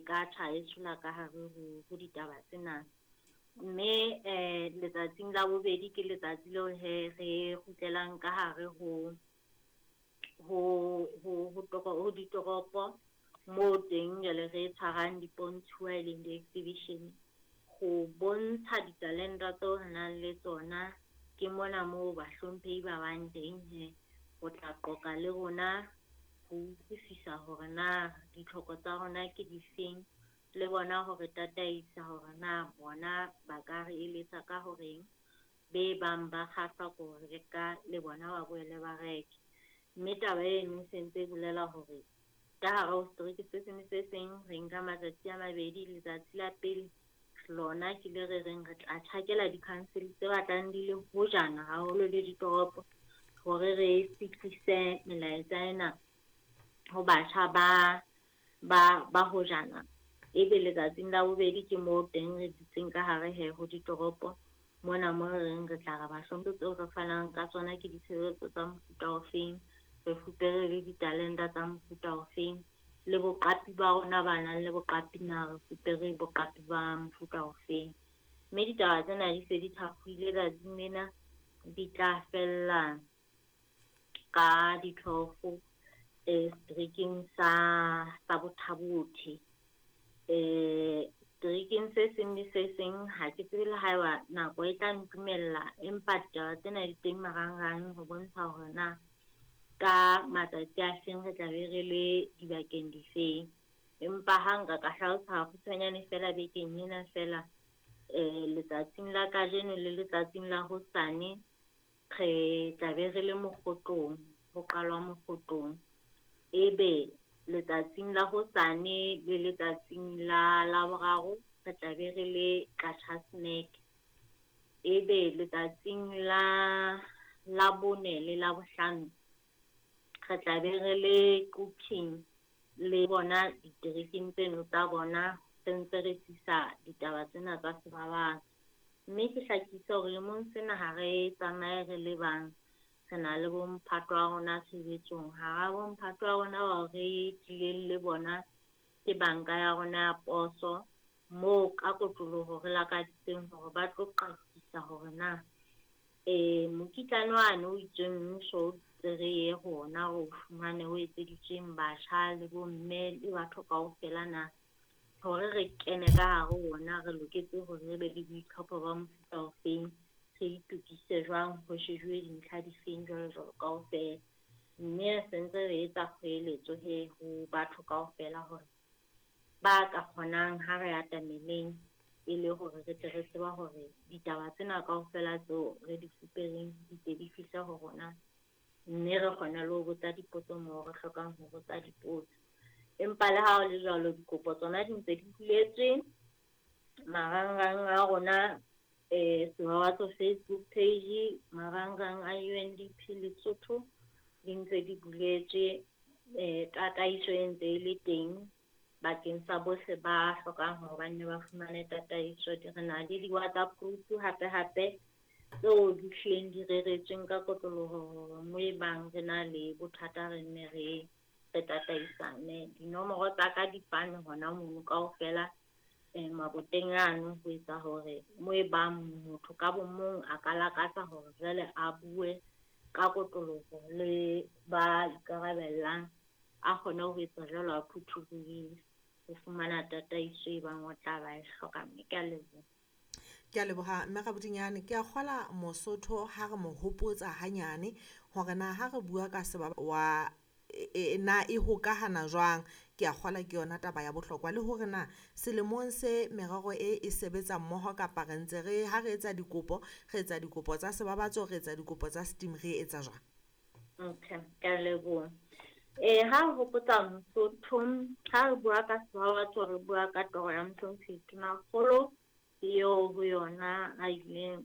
ka tjha e tshola ka hare ho ditaba tsena. Mme letsatsing la bobedi ke letsatsi leo he re kgutlelang ka hare ho ditoropo moo teng jwale re tshwarang dipontshuwa e leng di-exhibition ho bontsha ditalenta tseo re nang le tsona. Ke mona moo bahlomphehi ba bang teng he ho tla qoqa le rona ho utlwisisa hore na ditlhoko tsa rona ke difeng, le bona hore tataisa hore na bona ba ka re eletsa ka horeng be bang ba kgahlwa ke ho reka le bona ba boele ba reke. Mme taba eno e sentse e bolela hore ka hare ho setereke se seng le se seng re nka matsatsi a mabedi. Letsatsi la pele lona ke le re reng re tla tjhakela di-council tse batlang di le hojana haholo le ditoropo hore re fihlise melaetsa ena ho batjha ba hojana. Ebe letsatsing la bobedi ke moo teng re dutseng ka hare he ho ditoropo mona mo re reng re tla re bahlomphe tseo re fanang ka tsona ke ditshebeletso tsa mofuta ofeng, re fupere le ditalenta tsa mofuta ofeng, le boqapi ba rona ba nang le boqapi na re fupere boqapi ba mofuta ofeng. Mme ditaba tsena di se di thakgohile tsatsing lena, di tla fella ka di-12 seterekeng sa Botha-Bothe. Seterekeng se seng le se seng ha ke tsebe le haeba nako e tla ntumella, empa ditaba tsena di teng marangrang ho bontsha hore na ka matsatsi a feng re tla be re le dibakeng difeng. Empa ha nka ka hlalosa kgutshwanyane feela bekeng ena feela, letsatsing la kajeno le letsatsing la hosane re tla be re le Mokgotlong, ho qalwa Mokgotlong. Ebe letsatsing la hosane le letsatsing la Laboraro re tla be re le Qacha's Nek. Ebe letsatsing la Labone le Labohlano re tla be re le Quthing le bona diterekeng tseno tsa bona, re ntse re tlisa ditaba tsena tsa sebabatso. Mme ke hlakise hore lemong sena ha re tsamaye re le bang, re na le bomphato wa rona tshebetsong. Hara bomphato wa rona bao re tlileng le bona ke banka ya rona ya poso, moo ka kotloloho re lakaditseng hore ba tlo qakisa hore na mokitlane wane o itsweng mmuso o itse re ye ho ona o fumane o etseditsweng batjha le bomme le batho kaofela na, hore re kene ka hare ho ona re loketse hore re be le boitlhopho ba mofuta ofeng, re itokise jwang, ho shejuwe dintlha difeng jwalo jwalo kaofela. Mme re sentse re etsa kgoeletso he ho batho kaofela hore ba ka kgonang ha re atameleng e le hore re tle re tseba hore ditaba tsena kaofela tseo re di fupereng di tle di fihle ho rona, mme re kgone le ho botsa dipotso moo re hlokang ho botsa dipotso. Empa le ha ho le jwalo, dikopo tsona di ntse di buletswe marangrang a rona, Sebabatso Facebook page, marangrang a UNDP Lesotho di ntse di buletswe, tataiso e ntse e le teng bakeng sa bohle ba hlokang hore ba nne ba fumane tataiso. Re na le di-WhatsApp group hape hape tseo di hlileng di reretsweng ka kotloloho hore mo e bang re na le bothata re nne re tataisane. Dinomoro tsa ka di fane hona mono kaofela maboteng ano ho etsa hore mo e bang motho ka bo mong a ka lakatsa hore jwale a bue ka kotloloho le ba ikarabellang, a kgone ho etsa jwalo a phuthulohile ho fumana tataiso e bang o tla ba e hloka. Mme ke a leboha. Ke a leboha mme Rabodinyane. Ke a kgola Mosotho ha re mo hopotsa hanyane hore na ha re bua ka seba wa na e hokahana jwang. Ke a kgola ke yona taba ya bohlokwa, le hore na selemong se merero e sebetsa mmoho kapa re ntse re ha re etsa dikopo, re etsa dikopo tsa sebabatso, re etsa dikopo tsa steam, re etsa jwang? Okay, ke a leboha. Ha re hopotsa Mosotho, ha re bua ka sebabatso, re bua ka toro ya Mohlomphehi Tonakgolo eo ho yona a ileng